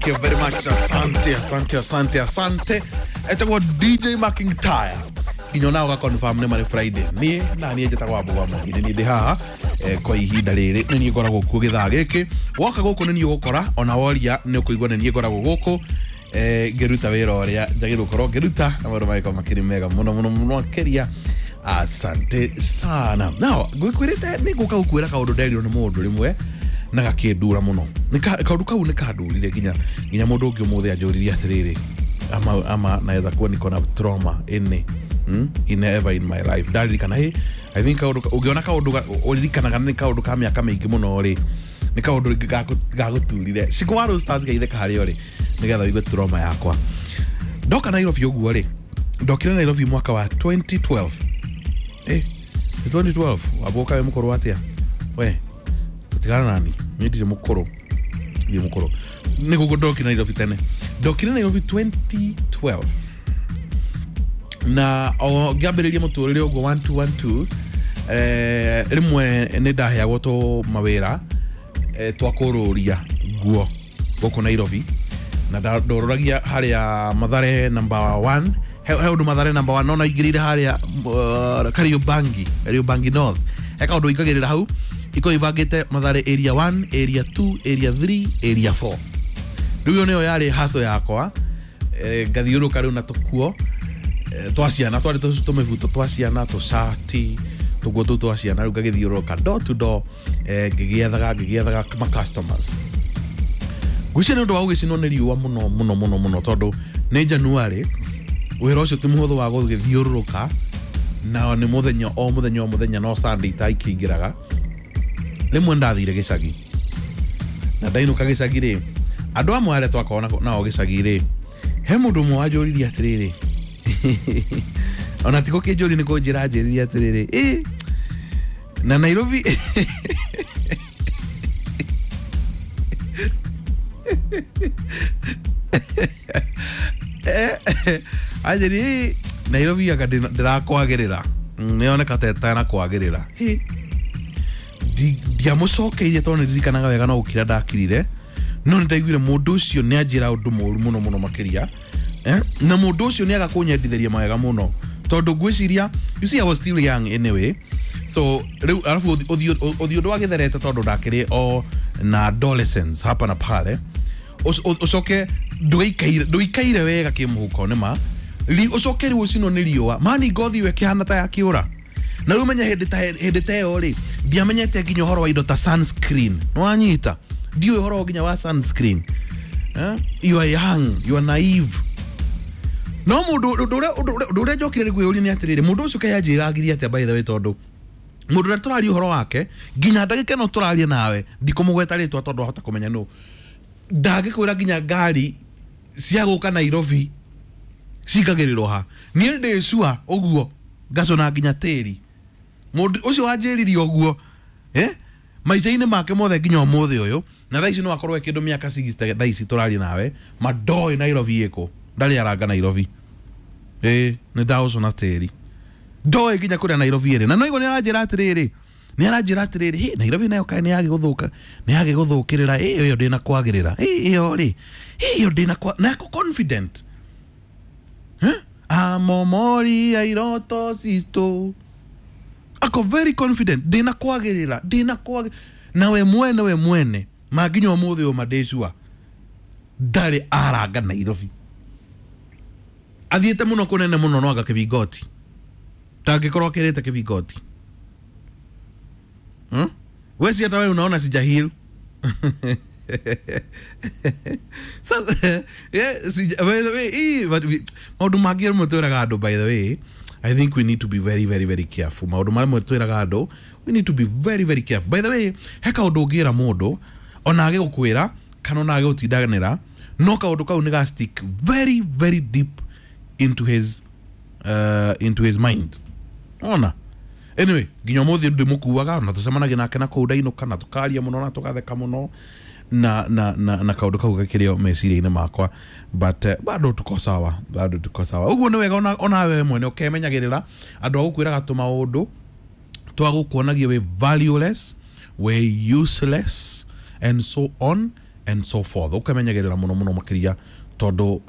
you very much. Asante, asante, asante, asante. Etagwo DJ McIntyre. Nginya ona ũga confirm nĩ marĩ Friday. Niĩ na niĩ njĩtagwo Wambũgũ wa Mwangi, nĩ niĩ ndĩ haha kwa ihinda rĩrĩ, nĩ niĩ ngoragwo kuo gĩthaa gĩkĩ. Woka gũkũ nĩ niĩ ũgũkora, ona woria nĩ ũkũigua nĩ niĩ ngoragwo gũkũ ngĩruta wĩra ũrĩa njagĩrĩirwo gũkorwo ngĩruta, na maũndũ magĩkorwo makĩrĩ mega mũno mũno mũno makĩria. Asante sana. Now, ngwĩkwĩrĩte nĩ ngũka gũkwĩra kaũndũ nderirwo nĩ mũndũ rĩmwe na gakĩndura mũno. Kaũndũ kau nĩ kandurire nginya mũndũ ũngĩ ũmũthĩ anjũririe atĩrĩrĩ, ama naweza kuwa niko na trauma ĩnĩ in ever in my life. Ndaririkana, hey, I think kaũndũ ũngĩona kaũndũ ũririkanaga nĩ kaũndũ ka mĩaka mĩingĩ mũno rĩ, nĩ kaũndũ rĩngĩ gagũturire. Cikũ wa Roasters geithĩka harĩa ũrĩ nĩgetha ũigue trauma yakwa. Ndoka Nairobi ũguo rĩ, ndokire Nairobi mwaka wa 2012. Nĩ 2012 wambũka wĩ mũkũrũ atĩa we? Tũtigana nani, niĩ ndirĩ mũkũrũ, ndirĩ mũkũrũ. Nĩ gũkũ ndokire Nairobi tene, ndokire Nairobi 2012 na o ngĩambĩrĩria mũtũrĩre ũguo 1212. Rĩmwe nĩ ndaheagwo tũ mawĩra twa kũrũria nguo gũkũ Nairobi, na ndorũragia harĩa Mathare number 1. He ũndũ Mathare number 1 nona ingĩrĩire harĩa Kariobangi, Kariobangi North, he kaũndũ ingagĩrĩra hau ikorwo ibangĩte Mathare area 1, area 2, area 3, area 4. Rĩu ĩyo nĩyo yarĩ haco yakwa. Ngathiũrũka rĩu na tũkuo twa ciana, twarĩ tũmĩbuto twa ciana, tũcati tũguo tũu twa ciana. Rĩu ngagĩthiũrũrũka door to door, ngĩgĩethaga ma customers. Ngwĩciria nĩ ũndũ wa gũgĩcinwo nĩ riũa mũno mũno mũno mũno, tondũ nĩ January, wĩra ũcio ti mũhũthũ wa gũgĩthiũrũrũka, na nĩ mũthenya o mũthenya o mũthenya, no Sunday ta ikĩingĩraga. Rĩmwe ndathire gĩcagi, na ndainũka gĩcagi rĩ, andũ amwe arĩa twakoragwo nao gĩcagi rĩ, he mũndũ ũmwe wanjũririe atĩrĩrĩ, ona ti gũkĩnjũria, nĩ kũnjĩra anjĩrire atĩrĩrĩ, ĩ na Nairobi anjĩri, "Ĩ, Nairobi anga ndĩrakwagĩrĩra, nĩyoneka ta ĩtanakwagĩrĩra." Ĩ, ndiamũcokeirie tondũ nĩndirikanaga wega no gũkira ndakirire, no nĩndaiguire mũndũ ũcio nĩ anjĩra ũndũ mũru mũno mũno makĩria, na mũndũ ũcio nĩ aga kũnyendithĩria mawega mũno, tondũ ngwĩciria, you see, I was still young anyway, so rĩu arabu ũthiũ ndwagĩtherete tondũ ndakĩrĩ o na adolescence hapa na pale. Ũcoke ndũikaire wega kĩmũhuko nĩ ma ũcoke rĩu ũcinwo nĩ riũa mani, ngothi ĩyo ĩkĩhana ta yakĩũra. Na rĩu menye hĩndĩ ta ĩyo rĩ, ndiamenyete nginya ũhoro wa indo ta sunscreen. Nĩwanyita? Ndiũĩ ũhoro nginya wa sunscreen. You are young, you are naive. No mũndũ ũndũ ũrĩa njokire nĩ kwĩyũria nĩ atĩrĩrĩ, mũndũ ũcio kaĩ anjĩragirie atĩa, by the way? Tondũ mũndũ ũrĩa tũraria ũhoro wake nginya ndagĩka ĩno tũraria nawe, ndikũmũgweta rĩtwa tondũ ahota kũmenya nũ, ndangĩkwĩra nginya ngari cia gũka Nairobi cingagĩrĩrwo ha. Niĩ ndĩ sure ũguo ngacũna nginya tĩri. Mũndũ ũcio wanjĩrire ũguo, maica-inĩ make mothe nginya ũmũthĩ ũyũ, na thaa ici no akorwo e kĩndũ mĩaka 60 thaa ici tũraria nawe, ma ndoĩ Nairobi ĩkũ, ndarĩ aranga Nairobi. Ĩ nĩ ndaũcũna tĩri, ndoĩ nginya kũrĩa Nairobi ĩrĩ. Na no igua nĩ aranjĩra atĩrĩrĩ, hĩ, Nairobi nayo kaĩ nĩ yagĩgũthũka, nĩ yagĩgũthũkĩrĩra. Ĩ ĩyo ndĩna kwagĩrĩra, ĩ ĩyo rĩ, ĩ ĩyo ndĩna kwa na ako confident. Amomori ya iroto citũ, ako very confident, ndĩna kwagĩrĩra, ndĩna kwagĩrĩra. Na we mwene, we mwene ma nginya ũmũthĩ ũyũ mandĩ sure ndarĩ aranga Nairobi. Athiĩte mũno kũnene mũno no anga kĩbingoti, ndangĩkorwo akĩrĩte kĩbingoti. We si hata wewe unaona sijahiru sasa? Yeah, by the way, but maũndũ mangĩ rĩmwe twĩraga andũ, by the way, I think we need to be very very very careful. Maũndũ marĩa twĩraga andũ, we need to be very very careful. By the way, he kaũndũ ũngĩra mũndũ ona agĩgũkwĩra kana ona agĩgũtindanĩra, no kaũndũ kau nĩ ga stick very very deep into his mind. Ona anyway, nginya ũmũthĩ ndĩmũkuaga na tũcemanagia nake na kũu ndainũka, na tũkaria mũno na tũgatheka mũno, na kaũndũ kau gakĩrĩ o meciria-inĩ makwa, but bado tuko sawa, bado tuko sawa. Ũguo nĩ wega ona wewe mwene ũkemenyagĩrĩra andũ a gũkwĩraga tũmaũndũ twa gũkuonagia wĩ valueless, wĩ useless and so on. and so forth. Ũkamenyagĩrĩra mũno mũno makĩria tondũ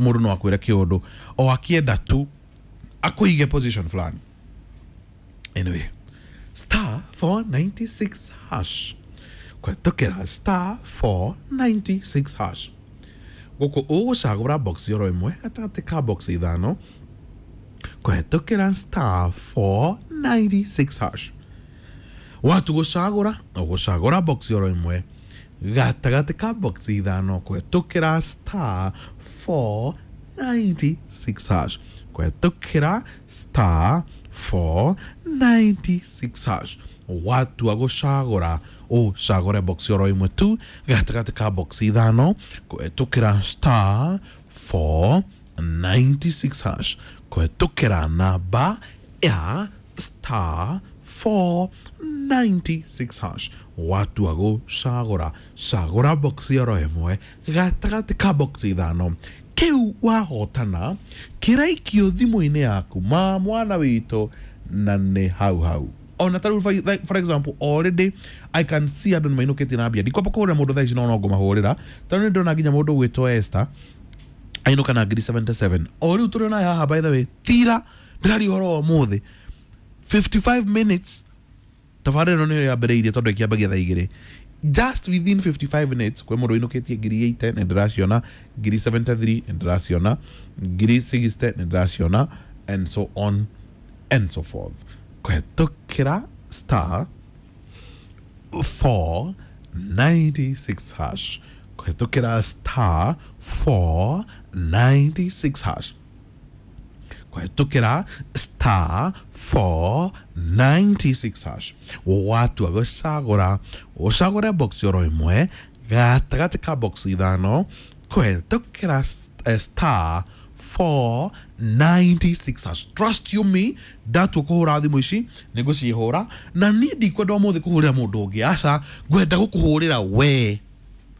mũndũ no akwĩre kĩũndũ o akĩenda tu akũige position fulani. Anyway, star 496 hash kũhetũkĩra star 496 hash gũkũ ũgũcagũra box oro ĩmwe gatagatĩ ka box ithano kũhetũkĩra star 496 hash. Watu gũcagũra ũgũcagũra box oro ĩmwe gatagatĩ ka box ithano kũhetũkĩra star 496 hash kũhetũkĩra star 496 hash. Watua gũcagũra ũcagũre box oro ĩmwe tu gatagatĩ ka box ithano kũhetũkĩra star 496 hash kũhetũkĩra namba ya star 496 hash. Watua gũcagũra cagũra box oro ĩmwe gatagatĩ ka box ithano kĩu wahotana kĩraikio thimũ-inĩ yaku ma mwana witũ na nĩ hau hau. Ona tarĩu for example already I can see andũ nĩmainũkĩtie na mbia. Ndikwamba kũhũrĩra mũndũ thaa ici no ngũmahũrĩra tondũ nĩ ndĩrona nginya mũndũ ũgwĩtwo Esther ainũka na ngiri 77 o rĩu tũrĩ onaye haha. By the way, tira ndĩraria ũhoro wa ũmũthĩ 55 minutes tabarĩra ĩno nĩyo yambĩrĩirie tondũ ĩkĩambagia thaa igĩrĩ. Just within 55 minutes kwĩ mũndũ ũinũkĩtie ngiri 80 nĩ ndĩraciona, ngiri 73 nĩ ndĩraciona, ngiri 60 nĩ ndĩraciona, and so on and so forth. Kũhetũkĩra star 496 hash kũhetũkĩra star 496 hash kũhetũkĩra star 496 hash. Watua gũcagũra ũcagũre box oro ĩmwe gatagatĩ ka box ithano kũhetũkĩra star 496 hash. Trust you me, ndatua kũhũra thimũ ici nĩ ngũcihũra na niĩ ndikwenda ũmũthĩ kũhũrĩra mũndũ ũngĩ, aca ngwenda gũkũhũrĩra we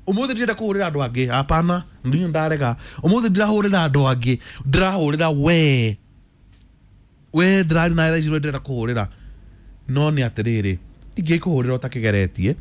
ũmũthĩ. Ndirenda kũhũrĩra andũ angĩ, hapana, niĩ ndarega. Ũmũthĩ ndirahũrĩra andũ angĩ, ndĩrahũrĩra we. We ndĩrari nawe thaa ici nĩwe ndĩrenda kũhũrĩra. No nĩ atĩrĩrĩ, ndingĩkũhũrĩra ũtakĩgeretie,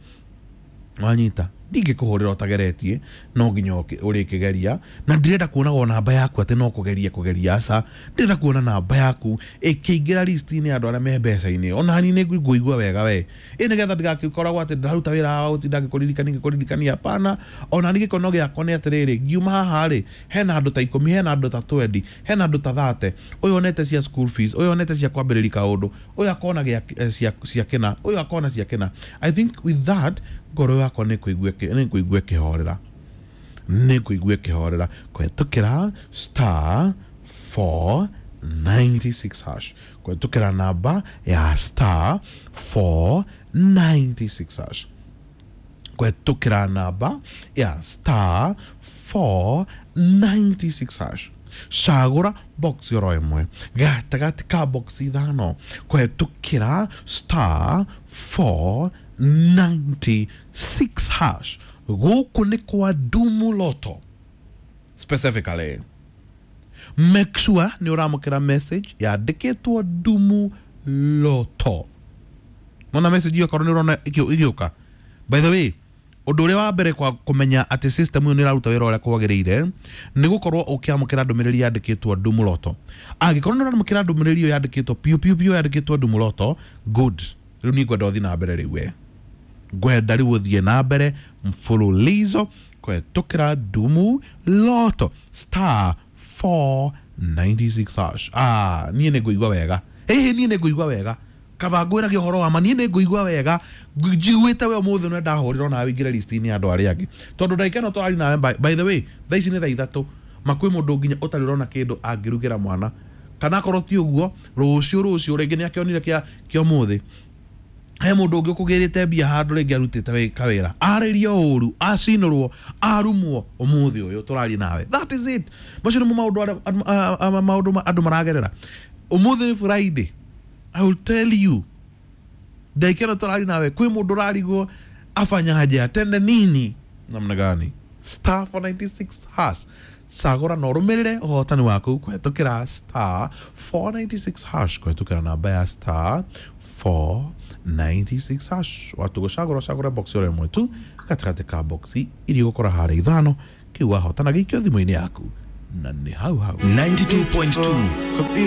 wanyita, ndingĩkũhũrĩra ũtageretie, no nginya ũrĩkĩgeria. Na ndirenda kuonagwo namba yaku atĩ no kũgeria kũgeria, aca ndĩrenda kuona namba yaku ĩkĩingĩra list-inĩ ya andũ arĩa me mbeca-inĩ. Ona niĩ nĩ ngũigua wega we ĩ nĩgetha ndigagĩkoragwo atĩ ndĩraruta wĩra wa gũtinda ngĩkũririkania ngĩkũririkania, hapana. Ona niĩ gĩkono gĩakwa nĩ atĩrĩrĩ, ngiuma haha rĩ, hena andũ ta 10, hena andũ ta 20, hena andũ ta 30, ũyũ onete cia school fees, ũyũ onete cia kwambĩrĩria kaũndũ, ũyũ akona gĩa cia kĩna, ũyũ akona cia kĩna. I think with that ngoro yakwa nĩ kũigua ĩkĩhorera, nĩ kũigua ĩkĩhorera kũhetũkĩra star 496 hash kũhetũkĩra namba ya star 496 hash kũhetũkĩra namba ya star 496 hash. Cagũra box oro ĩmwe gatagatĩ ka box ithano kũhetũkĩra star 496 hash. Gũkũ nĩ kwa Dumu Lotto specifically. Make sure nĩ ũramũkĩra message yandĩkĩtwo Dumu Lotto. Nona message ĩyo korwo nĩ ũrona ĩgĩũka. By the way, ũndũ ũrĩa wa mbere kwa kũmenya atĩ system ĩyo nĩ ĩraruta wĩra ũrĩa kwagĩrĩire nĩ gũkorwo ũkĩamũkĩra ndũmĩrĩri yandĩkĩtwo Dumu Lotto. Angĩkorwo nĩ ũramũkĩra ndũmĩrĩri ĩyo yandĩkĩtwo piũ piũ piũ yandĩkĩtwo Dumu Lotto, good. Rĩu niĩ ngwenda ũthiĩ na mbere rĩu we. Ngwenda rĩu ũthiĩ na mbere mfululizo kũhetũkĩra Dumu Lotto star 496 hash. Ah, niĩ nĩ ngũigua wega. Ĩhĩ, niĩ nĩ ngũigua wega. Kaba ngwĩragia ũhoro wa ma, niĩ nĩ ngũigua wega njiguĩte we ũmũthĩ nĩ ndahũrĩra nawe ingĩre list-inĩ ya andũ arĩa angĩ tondũ ndagĩka ĩno tũrari nawe. By the way, thaa ici nĩ thaa ithatũ, ma kwĩ mũndũ nginya ũtarĩ ũrona kĩndũ angĩrugĩra mwana, kana akorwo ti ũguo rũciũ rĩngĩ nĩ akĩonire kĩa ũmũthĩ. He mũndũ ũngĩ ũkũgĩrĩte mbia handũ rĩngĩ arutĩte kawĩra, arĩrio ũru, acinũrwo, arumwo ũmũthĩ ũyũ tũraria nawe. That is it. Macio nĩmo maũndũ andũ maragerera ũmũthĩ nĩ Friday. I will tell you, ndagĩka ĩno tũraria nawe kwĩ mũndũ ũrarigwo afanyaje, atende nini, namna gani. Star 496 hash cagũra na ũrũmĩrĩre ũhotani waku kũhetũkĩra star 496 hash kũhetũkĩra namba ya star 4 96 hash. Watu gũcagũra ũcagũre box oro ĩmwe tu gatagatĩ ka boxi iria ũgũkora harĩa ithano kĩu wahotana gĩikio thimũ-inĩ yaku na nĩ hau hau. 92.2.